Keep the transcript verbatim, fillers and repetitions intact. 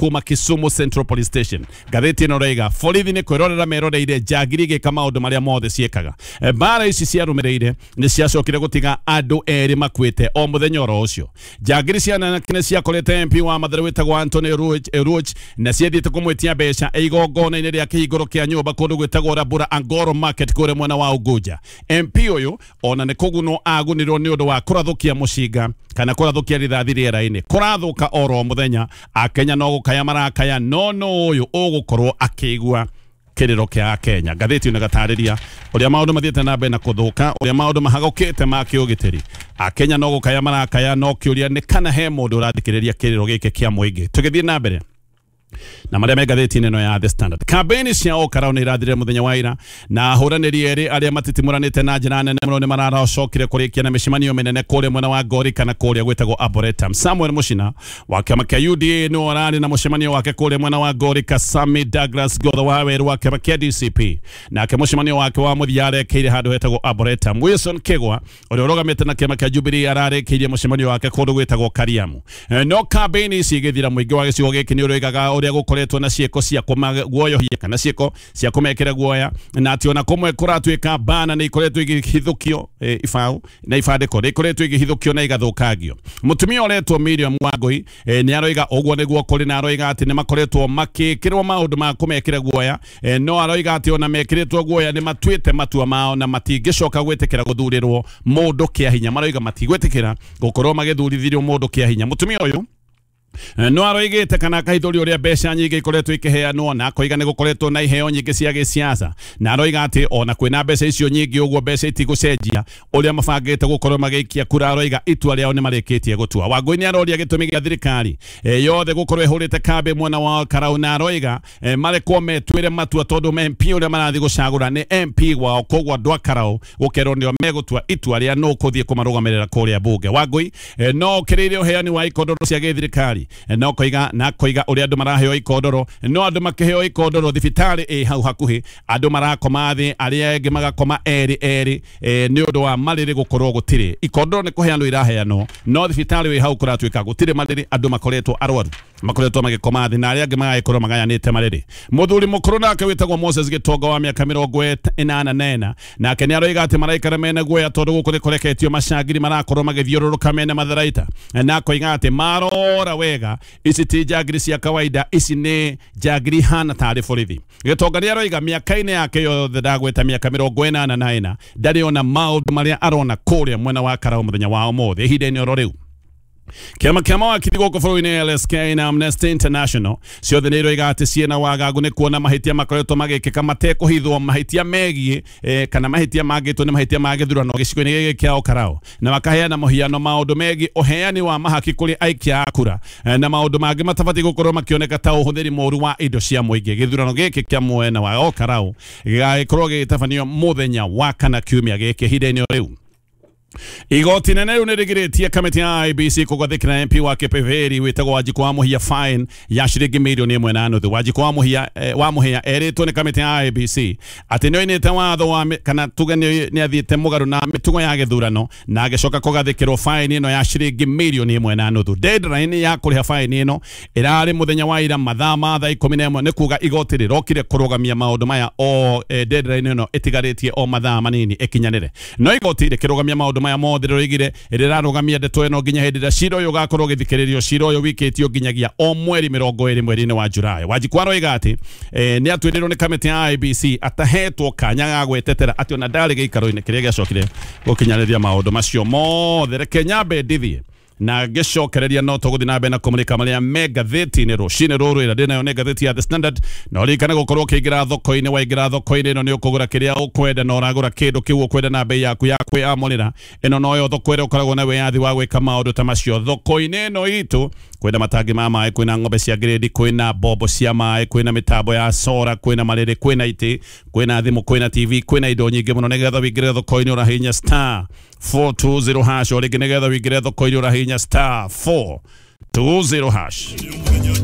Kuma Kisumu Central Police Station. Ngathĩti ĩno raiga borithi nĩ kwĩrorera meroreire njangiri igĩka maũndũ marĩa mothe ciĩkaga. Mbara ici ciarũmĩrĩire nĩ ciacokire gũtiga andũ erĩ makuĩte o mũthenya oro ũcio. Njangiri cia anake nĩ ciakorete M P wa Mathare wĩtagwo Anthony Ruoch na ciathiĩte kũmwĩtia mbeca igongona-inĩ rĩa kĩhingũro kĩa nyũmba kũndũ gwĩtagwo Rabura Angoro Market kũrĩa mwena wa Unguja. M P ũyũ ona nĩ kũgunwo agunirwo nĩ ũndũ wa kũrathũkia mũcinga kana kũrathũkia rithathi rĩera-inĩ. Kũrathũka oro mũthenya Akenya no gũkaya marakaya no no ũyũ ũgũkorwo akĩigua kĩrĩro kĩa Kenya. Ngathĩti ĩno ĩgatarĩria ũrĩa maũndũ mathiĩte na mbere na kũthũka, ũrĩa maũndũ mahagũkĩte ma kĩũgitĩri. Akenya no gũkaya marakaya no kĩũria nĩ kana he mũndũ ũrathikĩrĩria kĩrĩro gĩkĩ kĩa mũingĩ. Tũgĩthiĩ na mbere na marĩa me ngathĩti-inĩ ĩno ya The Standard. Kambĩini cia Okarau nĩ irathirire mũthenya wa ira na ahũranĩri erĩ arĩa matitimũranĩte na njĩra nene mũno nĩ mararacokire kũrĩkia na mĩcemanio mĩnene kũrĩa mwena wa Ngori kana kũrĩa gwĩtagwo Arboretum. Samuel Muchina wa kĩama kĩa U D A nĩwe ũrarĩ na mũcemanio wake kũrĩa mwena wa Ngori. Kasami Douglas Gotho wa Werũ wa kĩama kĩa D C P nake mũcemanio wake wa mũthia arekeire handũ hetagwo Arboretum. Wilson Kĩgwa ũrĩa ũrũgamĩte na kĩama kĩa Jubilee ararĩkĩirie mũcemanio wake kũndũ gwĩtagwo Kariamu. No kambĩini ici igĩthira mũingĩ wa gĩcigo gĩkĩ nĩ ũroigaga ũrĩa gũkoretwo na ciĩko cia kũmaguoyohia kana ciĩko cia kũmekĩra guoya na atĩ ona kũmwe kũratuĩka bana nĩ ikoretwo igĩhithũkio ibaũ na ibandĩko nĩ ikoretwo igĩhithũkio na igathũkangio. Mũtumia ũretwo Miriam Wangui nĩ aroiga ũguo nĩguo kũrĩ na aroiga atĩ nĩ makoretwo makĩkĩrwo maũndũ ma kũmekĩra guoya, no aroiga atĩ ona mekĩrĩtwo guoya nĩ matuĩte matua mao na matingĩcoka gwĩtĩkĩra gũthurĩrwo mũndũ kĩa hinya. Maroiga matigwĩtĩkĩra gũkorwo magĩthurithĩrio mũndũ kĩa hinya. Mũtumia ũyũ no aroigĩte kana akahithũria ũrĩa mbeca nyingĩ ikoretwo ikĩheanwo na akoiga nĩ gũkoretwo na iheo nyingĩ cia gĩsiasa na aroiga atĩ ona kwĩna mbeca icio nyingĩ ũguo mbeca itigũcenjia ũrĩa mabangĩte gũkorwo magĩikia kura. Aroiga itua rĩao nĩ marĩkĩtie gũtua. Wangũi nĩ aroria gĩtũmi gĩa thirikari yothe gũkorwo ĩhũrĩte kambĩ mwena wa Karau na aroiga marekwo metuĩre matua tondũ M P ũrĩa marathiĩ gũcagũra nĩ M P wao, koguo andũ a Karau gũkerwo nĩo megũtua itua rĩa nũ kũthiĩ kũmarũgamĩrĩra kũrĩa bunge. Wangũi no okĩrĩire ũheani wa ikondoro cia gĩthirikari no koiga na koiga ũrĩa andũ maraheo ikondoro no andũ makĩheo ikondoro thibitarĩ ĩ hau hakuhĩ andũ marakoma thĩ arĩa angĩ magakoma erĩ erĩ nĩ ũndũ wa marĩrĩ gũkorwo gũtirĩ ikondoro nĩ kũheanwo iraheanwo no thibitarĩ ĩ hau kũratuĩka gũtirĩ marĩrĩ andũ makoretwo arwaru makoretwo magĩkoma thĩ na arĩa angĩ magagĩkorwo magayanĩte marĩrĩ. Mũthuri mũkũrũ nake wĩtagwo Moses Gĩtonga wa mĩaka mĩrongo ĩnana na ĩna nake nĩ aroiga atĩ maraikara mena guoya tondũ gũkũ nĩ kũreketio macangiri marakorwo magĩthiũrũrũka mena matharaita na akoiga atĩ marora wega ici ti njangiri cia kawaida, ici nĩ njangiri hana tarĩ borithi. Gĩtonga nĩ aroiga mĩaka-inĩ yake yothe ndagweta mĩaka mĩrongo ĩnana na ĩna ndarĩ ona maũndũ marĩa arona kũrĩa mwena wa Karau mũthenya wa ũmũthĩ. Ihinda-inĩ oro rĩu kĩama kĩa mawakiri gũkũ bũrũri-inĩ L S K na Amnesty International ciothe nĩ iroiga atĩ ciĩna wagagu nĩ kuona mahĩtia makoretwo magĩkĩka matekũhithwo mahĩtia megiĩ eh, kana mahĩtia mangĩtwo nĩ mahĩtia ma gĩthurano gĩcigo-inĩ gĩkĩ kĩa Okarau na makaheana mũhiano maũndũ megiĩ ũheani wa mahaki kũrĩ aikia a kura na maũndũ mangĩ matabatiĩ gũkorwo makĩoneka ta ũhũthĩri mũũru wa indo cia mũingĩ. Gĩthurano gĩkĩ kĩa mwena wa Okarau gĩgagĩkorwo gĩgĩtabanio mũthenya wa kana kiumia gĩkĩ. Ihinda-inĩ rĩu igoti nene rĩu nĩrĩgirĩtie kamĩtĩ ya I B C kũgathĩkĩra M P wa Kipipiri wĩtagwo Wanjikũ wa Mũhia fine ya ciringi mirioni ĩmwe na nuthu. Wanjikũ wa Mũhia eh, wa Mũhia erĩtwo nĩ kamĩtĩ ya I B C atĩ nĩoinĩte watho wa kana tuge nĩ athiĩte mũgarũ na mĩtugo ya gĩthurano na agĩcoka kũgathĩkĩrwo fine ĩno ya ciringi mirioni ĩmwe na nuthu. Deadline ya kũrĩha fine ĩno ĩrarĩ mũthenya wa ira mathaa ma thaa ikũmi na ĩmwe, nĩ kuga igoti rĩrokire kũrũgamia maũndũ maya o eh, deadline ĩno ĩtigarĩtie o mathaa manini ĩkinyanĩre. No igoti rĩkĩrũgamia maũndũ maya mothe rĩroigire rĩrarũgamia ndeto ĩno nginya hĩndĩ ĩrĩa cira ũyũ ũgakorwo ũgĩthikĩrĩrio. Cira ũyũ wikĩtio nginyagia o mweri mĩrongo ĩrĩ mweri-inĩ wa Julai. Wanjikũ aroiga atĩ eh, nĩ atuĩrĩirwo nĩ kamĩtĩ ya I B C atahetwo kanya ga gwĩtetera atĩ ona ndarĩ gĩikaro-inĩ kĩrĩa gĩacokire gũkinyanĩria maũndũ macio mothe. Reke nyambe ndithiĩ na ngĩcokereria no tũgũthiĩ na mbere na kũmũrĩka marĩa me ngathĩti-inĩ rũcinĩ rũrũ ĩrĩa ndĩnayo nĩ ngathĩti ya The Standard. Na ũririkane gũkorwo ũkĩingĩra thoko-inĩ, waingĩra thoko-inĩ ĩno nĩ ũkũgũra kĩrĩa ũkwenda na ũragũra kĩndũ kĩu ũkwenda na bei yaku ya kwĩamũrĩra. Ĩno noyo thoko ĩrĩa ũkoragwo na wĩyathi wa gwĩka maũndũ ta macio. Thoko-inĩ ĩno itũ kwĩna matangi ma maĩ, kwĩna ng'ombe cia grade, kwĩna mbombo cia maĩ, kwĩna mĩtambo ya sora, kwĩna marĩrĩ, kwĩna itĩ, kwĩna thimũ, kwĩna T V, kwĩna indo nyingĩ mũno. Nĩgetha wĩingĩre thoko-inĩ ũrahihinya star four two zero hash, o rĩngĩ nĩgetha wĩingĩre thoko-inĩ ũrahihinya star four two zero hash.